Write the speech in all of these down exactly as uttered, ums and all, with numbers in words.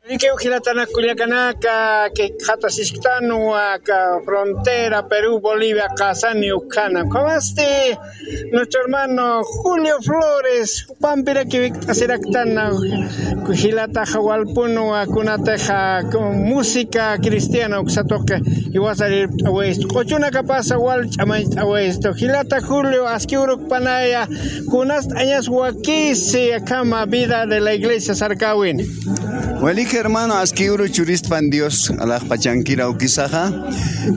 Likiw jilatanak kullakanaka, jikxatasisktanwa aka frontera Perú, Bolivia, qasani ukhana. Ukhamasti nuestro hermano Julio Flores, pampirakiw jikt'asiraktana, jilataxa walpunwa kunatixa música cristiana uksa tuqi, jiwasarirpt'awistu. Q'uchunakapasa wal ch'amañcht'awistu. Jilata Julio, aski urukpanaya, kunast'añas wakisi akhama vida de la iglesia sarkawini. Walik hermano, aski uru churispan Dios alaxpachankira ukisaxa,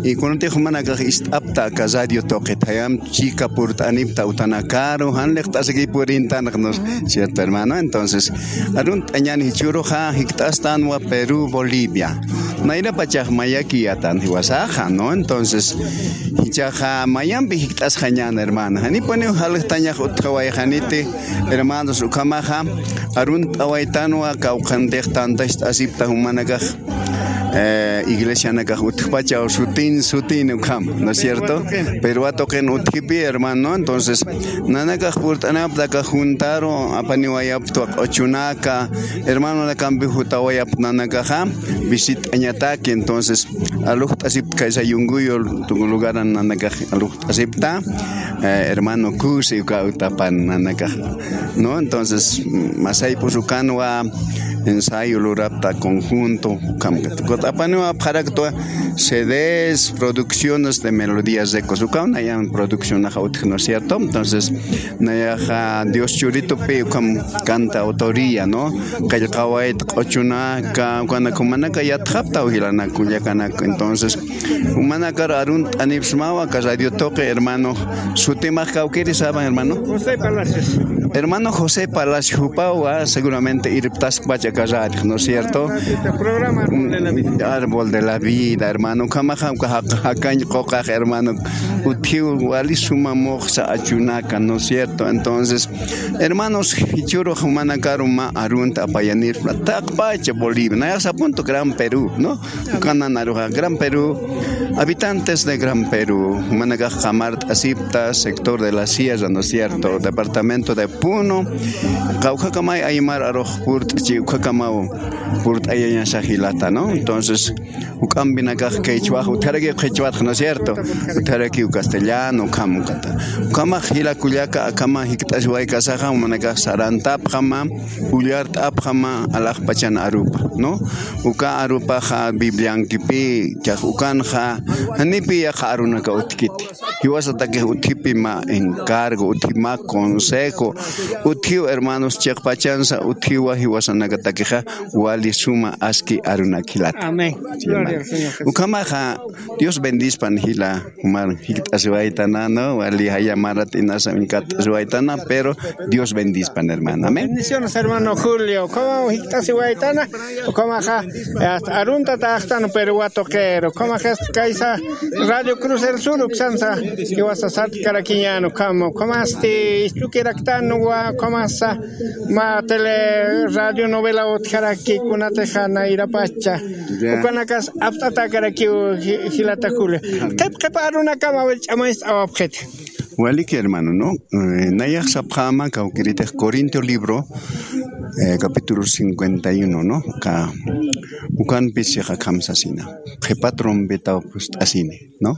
y kunatix jumanakax ist'apta aka radio tuqit, jayam chika purt'anipta utanakaru, jan liqt'asiki purintanxnus, ¿cierto, hermano? Entonces, arunt'añan jichhüruxa jikt'astanwa Perú, Bolivia. Nayrapachax mayakiyätan jiwasaxa, ¿no? Entonces, jichhaxa mayampi jikt'asxañän, hermano. Janipuniw jaljtañax utjawayxaniti, hermanos, ukhamaxa arunt'awaytanwa kawkhanitix tantacht'asipta jumanakax, eh, iglesianakax utjpachaw sutin, sutin ukham, ¿no es cierto? Perú tuqin utjipi, hermano. Entonces, nanakax purt'anapta aka juntaru, apaniwayaptwa q'uchunaka, hermanonakampi jutawayapta nanakaxa, visit'añataki. Entonces, alujt'asipta kaysa Yunguyo lugaran nanakax alujt'asipta, eh, hermano Kusi uka utapan nanakax, ¿no? Entonces, masaypus ukanwa ensayo lurapta conjunto, ukham. Apaniw apxaraktwa C Ds, producciones de melodías de Cosca, ukaw nayan produccionaxa utji, ¿no es cierto? Entonces, nayaxa Dios Churitupi ukham cantautoría, ¿no? Qillqawayta q'uchunaka, ukanak jumanaka yatxaptaw jilanak kullakanaka. Entonces, jumanakar arunt'anipsmawa aka radio tuqi, hermano. Sutimax kawkiri saban, hermano. José Palacios. Hermano José Palacios, jupawa seguramente irptaskpacha aka radio, ¿no es cierto? Ah, sí, programa Árbol de la Vida. Árbol de la Vida, hermano. Ukhamaxa, uka jaq-, jakañ quqax, hermano. Utjiw wali suma muxsa achunaka, ¿no es cierto? Entonces, hermanos, jichhürux jumanakaru mä arunta apayanirpxta, taqpacha Bolivia, nayax sapuntu Gran Perú, ¿no? Ukanan aruxa Gran Perú, habitantes de Gran Perú, jumanakax qamart'asipta, sector de la Sierra, ¿no es cierto? Departamento de Puno, kawkhakamay aymar arux purt'chi, ukhakamay purt'ayañasa jilata, ¿no? Entonces, juk'ampinakax qhichwax utjarakiw, qhichwatx, ¿no es cierto? Utjarakiw castellano, ukham ukata. Ukhamax jila kullaka, akhama jikt'asiwaykasaxa, jumanakax sarantapxama, ullart'apxama, alaxpachan arupa, ¿no? Uka arupaxa Bibliankipi, chax ukanxa, janipi yaqha arunaka utjkiti. Jiwasatakix utjipi mä encargo, utji mä consejo, utjiw hermanos chiqpachansa, utjiwa jiwasanakatakixa, wali suma aski arunak jilata. Amén. Sí, hermano. Gloria al Señor Jesús. Ukhamaxa, Dios bendispan jila, jumar jikt'asiwaytana, ¿no? Wali jaya marat inasa minkat'asiwaytana, pero Dios bendispan, hermano. Amén. Bendiciones, hermano Julio. Ukhamaw jikt'asiwaytana, ukhamaxa, hasta arunta taxtan, pero watuqir. Ukhamaxa, kaysa Radio Cruz del Sur uksansa, jiwasa sartkarakiñän ukham, ukhamasti istukiraktanwa, ukhamasa, mä tele radio novela utjaraki kunatixa nayrapacha. Ya. Ukanakas apt'atäkarakiw ji-, jilata Julio. Qhip qhip arunakama, a ver, ch'amañcht'awapxiti. Walik, hermano, ¿no? Eh, nayax sapxäma kawkiritix Corintio libro, eh, capítulo cincuenta y uno, ¿no? Ka, ukanpis akham sasina. Qhipa trompeta phucht'asini, ¿no?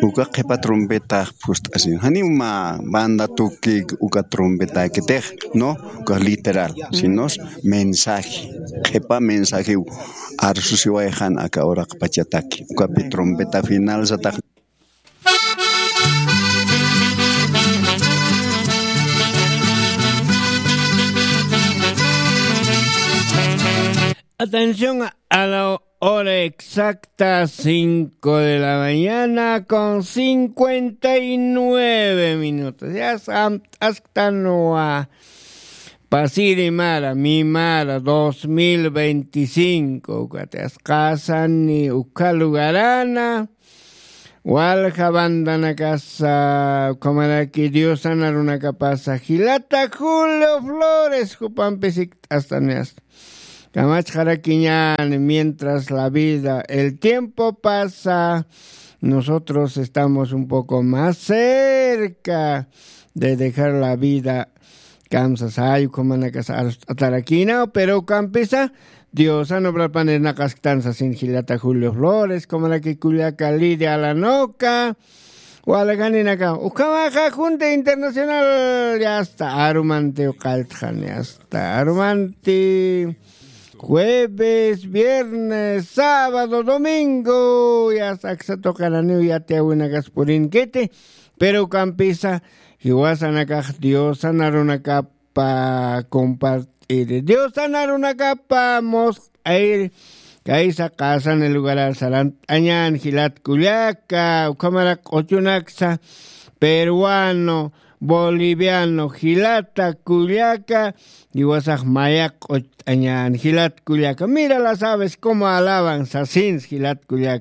Uka qhipa trompeta phucht'asini. Janiw mä banda tuki uka trompetakitix, ¿no? Uka literal, sino mensaje. Qhipa mensaje arsusiwayxan aka uraqpachataki. Ukapi trompeta final satax. Atención a la hora exacta, cinco de la mañana con cincuenta y nueve minutos. Ya sam-, asktanwa pasiri mara, mi mara, dos mil veinticinco, ukat asqasani ukha lugarana, walja bandanakasa, ukhamaraki diosana runakapasa, jilata Julio Flores, jupampis jikt'astani asta. Kamachxarakiñäni, mientras la vida, el tiempo pasa, nosotros estamos un poco más cerca de dejar la vida Kamsa sayukhumanakasa arust'atarakinaw pero ukampisa diosan obrapanirnaqasktan sasin jilata julio flores kumaraki kullaka lidia alanoka. Walakaninaka ukhamaxa junta internacional yasta arumanti uqalltxani asta arumanti jueves viernes sábado domingo yasta aksatuqananiw yatiyawinakaspurinkiti. Pero ukampisa jiwasanakax diosan arunakapa compart'iri diosan arunakapa musq'ayri. Kaysa qasani lugarar sarant'añan jilat kullaka ukhamarak q'uchunaksa peruano boliviano jilata kullaka. Jiwasax mayaq q'ucht'añan jilat kullaka mira las aves como alaban sasins jilat kullaka.